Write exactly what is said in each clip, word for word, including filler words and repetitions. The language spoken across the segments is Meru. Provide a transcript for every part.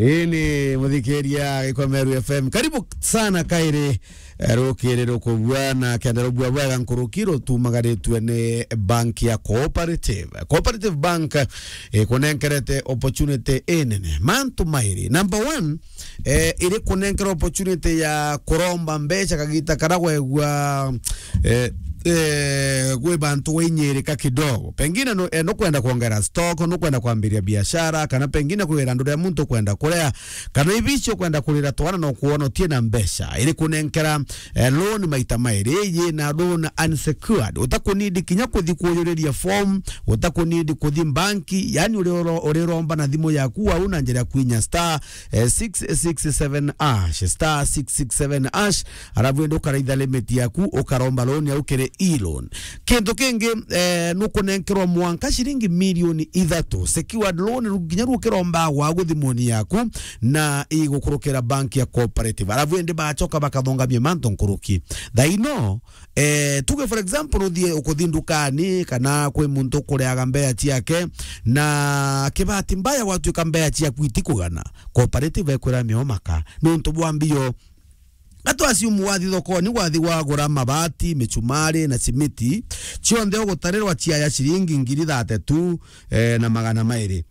Ii ni muthikiria Gikwa Meru F M. Karibu sana kairi, eh, rukiri rukubua na kenda rubua bwega nkuruki rutumagaritue ni bank ya Cooperative. Cooperative Bank, eh, ikunenkerete opportunity inene. Mantu mairi. Number one, eh, iri kunenkera opportunity ya kuromba mbeca kagita kara wegua, eh, eh, gwi bantu gwinyirika kidogo. Pengine nu-, eh, nukwenda kuongera stock, nukwenda kwambiria biashara, kana pengine kwi irandu ria muntu ukwenda kurea, kana ibici ukwenda kurira twana no kuona utie na mbeca. Iri kunenkera, eh, loan maita mairi, yina loan unsecured. Utakunidi kinya kuthi kuyuriria form, utakunidi kuthi banki, yani uri oro-, uriromba na thimu yaku wau na njira ya kwinya star, eh, six six seven hash, star six six seven hash, arabu indi ukaraitha limit yaku, ukaromba loan yau kiri e-loan. Kintu kingi, eh, nukunenkerwa mwanka ciringi milioni ithatu, secured loan, ru-, kinya rukiromba gwaku thimuni yaku, na igukurukira bank ya Cooperative. Arabu indi bachoka bakathongamia mantu nkuruki. Thaino, eh, tuge for example, uthie ukuthi ndukani, kana kwi muntu ukureaga mbea ciake, na kibati mbaya gwatuika mbea ciaku itikugana, Cooperative ekwira miomaka, nuntu bwa mbio. Atu assume wathi thokoni, wathi wagura mabati, michumari na simiti, cionthe ugutarirwa ciaya ciringi ngiri thate tu, eh, na magana mairi.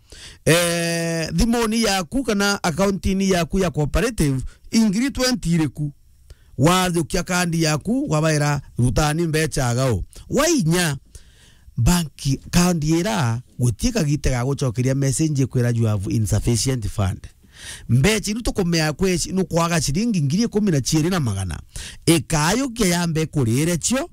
Eh, thimuni yaku kana akaunti-ini yaku ya Cooperative, ingiri twenty iriku. Wathukia kandi yaku, wabaira, "Rutani mbeca agao." Wainya, bank kandi ira, gutie kagite ga gucokeria message ikwira, "You have insufficient fund." Mbeca iru tukumea kweci nukwaga ciringi ngiri ikumi na ciiri na magana. Ikayukia yambe kurire cio,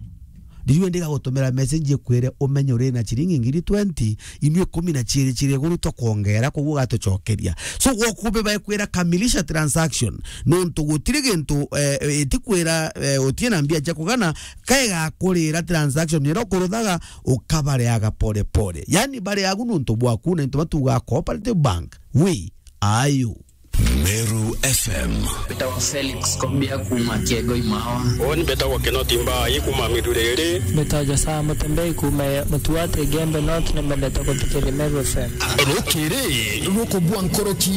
riu indi gagutumira message ikwire umenye uri na ciringi ngiri twenty, inu ikumi na ciiri ciri iguru tukwongera, koguo ugatucokeria. So, gwokubi baikwira kamilisha transaction, nuntu gutiri gintu, eh, itikwira, eh, utie na mbia cia kugana, kaigakurira transaction ira ukuruthaga, ukabareaga pole pole. Yani, bareagu nuntu bwaku, na into batuga Cooperative Bank. We are you? Meru F M. Mbetawa Felix Kobia kuma Kiego Imawa. Oni mbetawa Kinoti Mbai kuma Miruriri. Mbetawa Josaa Mutembei kuma Mutuate Gembe North, ni mbendete kuthikiriria Meru F M. Rukiri rukubua nkoroki,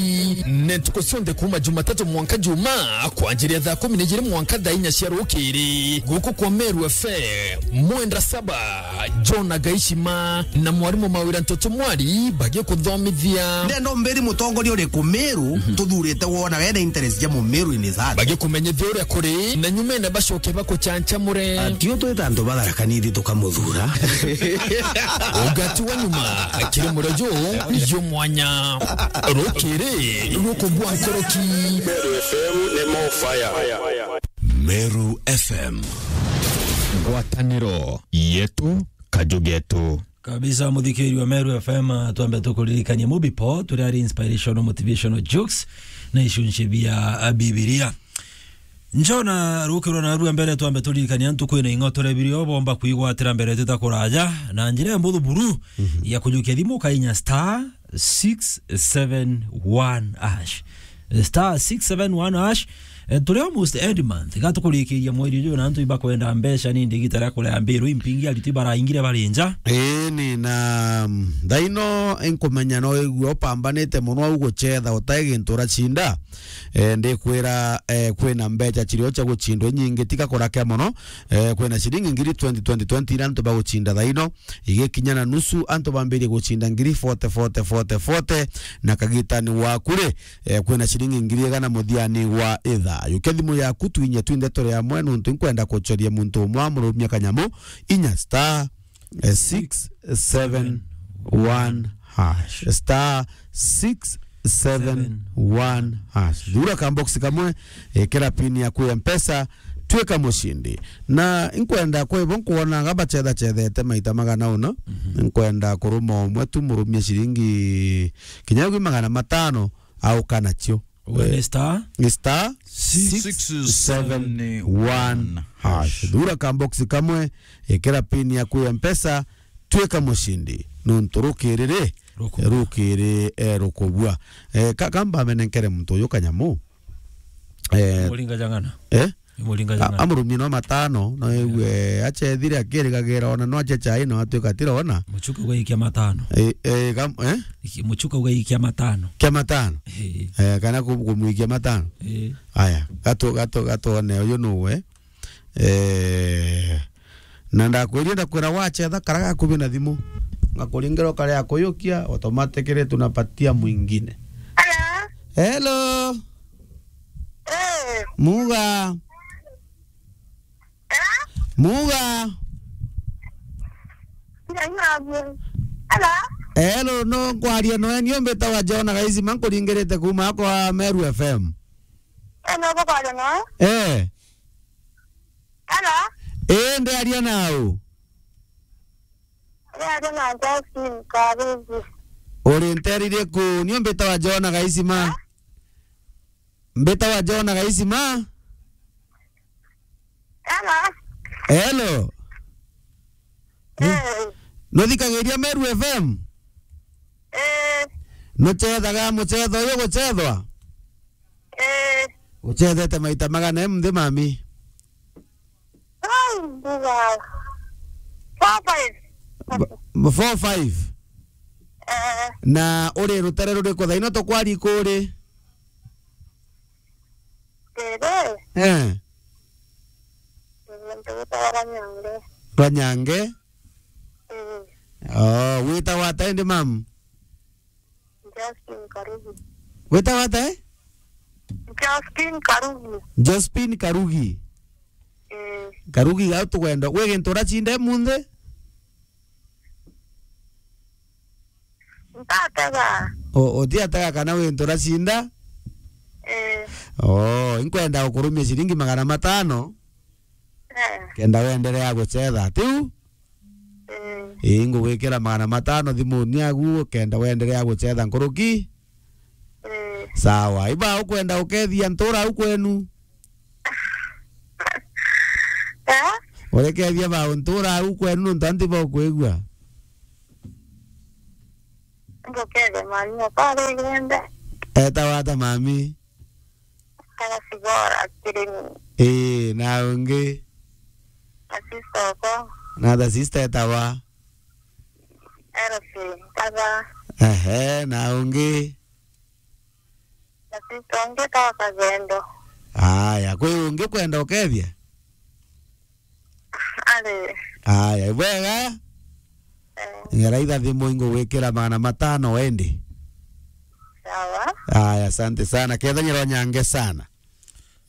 ni ntuku cionthe kuma Jumatatu mwanka Juma, kwanjiria thaa kumi na ijiri mwanka thaa inya cia rukiri, guku kwa Meru F M. Mwenda Saba, John Agaishima, na mwarimu Mawira Ntoto Mwari bagikuthomithia. Ndenda umbiri mutongoria uriku Meru tuthurite wona wena interest ja Mumeru in his heart. Bagikumenyithia uria kuri, na nyumene bacoke bakuchanchamure. Atio twita antu batharakanithi tukamuthura. Ugati wa nyuma, kiri murio ju, ju mwanya. Rukiri rukubua nkoroki. Meru F M ni more fire. Meru F M. Ngwataniro yetu, kaju getu. Kabisa, muthikiri wa Meru F M, twambe tukuririkanie Mubipo, turia ari inspirational, motivational jokes, na icunci bia Bibilia. Njona rukirwa na rua mbere, twambe turirikanie antu kwina ing'otore birio bomba kwigwatira mbere tutakuraja, na njira ya mbuthu buru ya kujukia thimu kainya star six seven one hash. Star six seven one hash. Eh, turi almost end month. Gatukurikiria mweri uyu na antu ibakwenda mbeca ni ndigita ria kuria mbiru impingi ariti baraingire bari nja. Eni na, mm, thaino inkumenya no igwe upambanite muno au gucetha utai gintu uracinda. Eh, ndikwira, eh, kwina mbeca cirio cia gucindwa inyingi tiga kurake muno. Eh, kwina ciringi ngiri twenty, twenty, twenty ira antu bagucinda thaino. Igikinya na nusu, antu bambirie gucinda ngiri forty, forty, forty, forty, na kagitani waku ri, eh, kwina ciringi ngiri igana muthiani wa ithaa. Yukia thimu yaku, twinye twinthe turi amwe, nuntu inkwenda kucoria muntu umwe amurumia kanyamu, inya star, eh, six seven one hash. Star six seven one hash. Thura ka box kamwe, ikira pin yaku ya Mpesa, twika mucindi. Na inkwenda kwibo nkwonanga bacethacethete maita magana una. Inkwenda kuruma umwe tu murumie ciringi kinya gwi magana matano au kana cio. Uga ni star? Ni star six seven one hash. Thura ka box kamwe, ikira pin yaku ya Mpesa, twika mucindi. Nuntu rukiri ri, rukiri, eh, rukubua. Eh, ka-, kamba amenenkere muntu uyu kanyamu. Eh, muringa jang'ana. Eh? Muringa A-, jana. Amurumie no matano, no igue, acha ethire akirigagira ona no ache chai no atuika atirona. Muchuka ugaikia matano. Eh, eh, gam-, eh? Iki-, muchuka ugaikia matano. Kia matano? Eh. Eh, kana ku-, kumwikia matano? Eh. Aya, gato, gato, gatone uyu nuwe. Eh, na ndakwirie ndakwira wachetha kara gakubi na thimu. Ngakuringira ukare akuyukia, automatically tunapatia mwingine. Hello? Hello? Eh. Muga. Eh? Muga. Hello? Hello, no nkwaria noe, nio mbitawa Jona Gaisima, nkuringirite kuma akwa Meru F M. Eh, no nkwaria noe? Eh. Hello? Eh, ndiaria nau? Ndiaria na Justin Karugi. Uri nteri iriku? Nio mbitawa Jona Gaisima. Eh? Mbitawa Jona Gaisima. Hello. Hello. Eh. Nuthikagiria Meru F M? Eh. Nuchethaga muchetho uyu guchethwa? Eh. Uchethete maita magana e nthi, mami? Ai, mbuga. Four five. Ba-, four five? Eh. Na uri rutere ruriku thaino tukwari kuri? Tere. Eh. Muntu witagwa Ranyange. Ranyange? Mm. Oh, witagwa ata indi, mam? Justin Karugi. Witagwa ata, eh? Justin Karugi. Jospin Karugi. Mm. Karugi, gau tugwenda. Gwi gintu uracinde munthi? Ntatega. O, utiatega kana wi ntu uracinda? Eh. Oh, inkwenda gukurumia ciringi magana matano. Eh. Kenda wenderea gucetha, tiu? Mm. Ii, ngugwikira magana matano thimuni yaku, kenda wenderea gucetha nkuruki. Mm. Sawa. Iba ukwenda ukethia ntura au kwenu? Eh? Urekethia ba ntura au kwenu nontu anti bakwigua? Ngukethia mami okwa ari igenda. Etawa ata mami? Kana Sibora Kirimi. Ii, na ungi? Na sister okwa. Na the sister etawa? Elsie Nkatha. Ehe, na ungi? Na sister ungi etawa Kagendo. Aya, kwi ungi kwenda ukethia? Ari. Aya, ibwega? Eh. Ngeraitha thimu ingugwikira magana matano endi. Sawa. Aya, asante sana. Kethanyirwa nyange sana.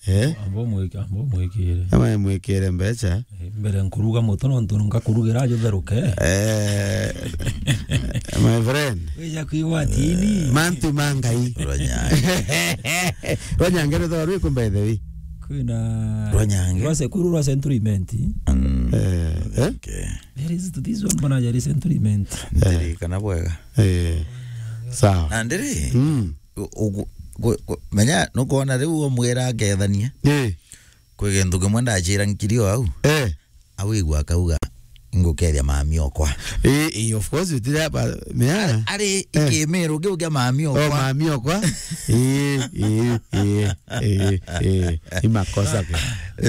Eh? Amba umwiki-, amba umwikire. Ama mwikire mbecha. Eh, mbere nkuruga muto nontu ngakurugira ajo theruke. Eh, my friend. Wija kwigwa atini. Mantu ma Ngai. Rwanyange. Rwanyange rwithagwa rwiku, by the way? Kwina Rwanyange? Rwa se-, kuru rwa Century Mint. Mm. Eh, eh? Okay. There is this one bana jari Century Mint. Ndirikana bwega. Eh. Sawa. Na ndiri? Mm. U-, ugu-, gu-, gu-, menya nukwona riu umwira akethania. Eh. Kwi gintu kimwe ndachira nkiri o au. Eh. Awigua akauga, "Ngukethia mami okwa." Eh, eh, of course, utire hapa, mea. Ari, eh, ikimiru kiu kia mami, oh, okwa, mami okwa. Eh, eh, eh, eh, eh, ni makosa ke.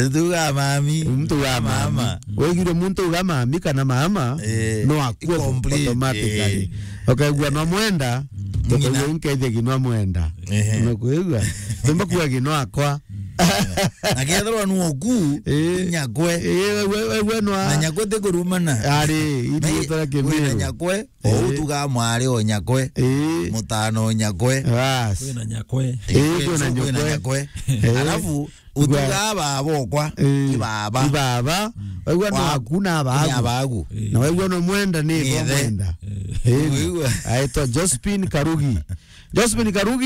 Tuga mami. Mtu wa mami. Mama. Wegire muntu uga mami kana mama, eh, no akue complete, automatically. Eh. Ukaigua no mwenda, mm, ukaigua nkethia ginwa mwenda. Ehe. Unakuigua? Tumba kuwa ginwa akwa. Na kethirwa nu oku, eh, nyakwe. Eh, we, we, we nwa. Na nyakwe ti kurumana. Ari, na ithuĩ i-, tũra wĩ na kĩmĩrũ. Nyakwe, eh, o ũtuga mwari o nyakwe, eh, mũtano o nyakwe. Bas. Kwĩ na nyakwe. Eh, kwĩ na nyakwe. Eh. Alafu, ũtuga baba okwa, eh, i baba. I baba. Mm. Waigua no aku na abagu. Ni abagu. Eh. Na waigua no mwenda ni ithe. Ni mwenda. Eh. Eh. Waigua? Aitwa Josephine Karugi. Josephine Karugi.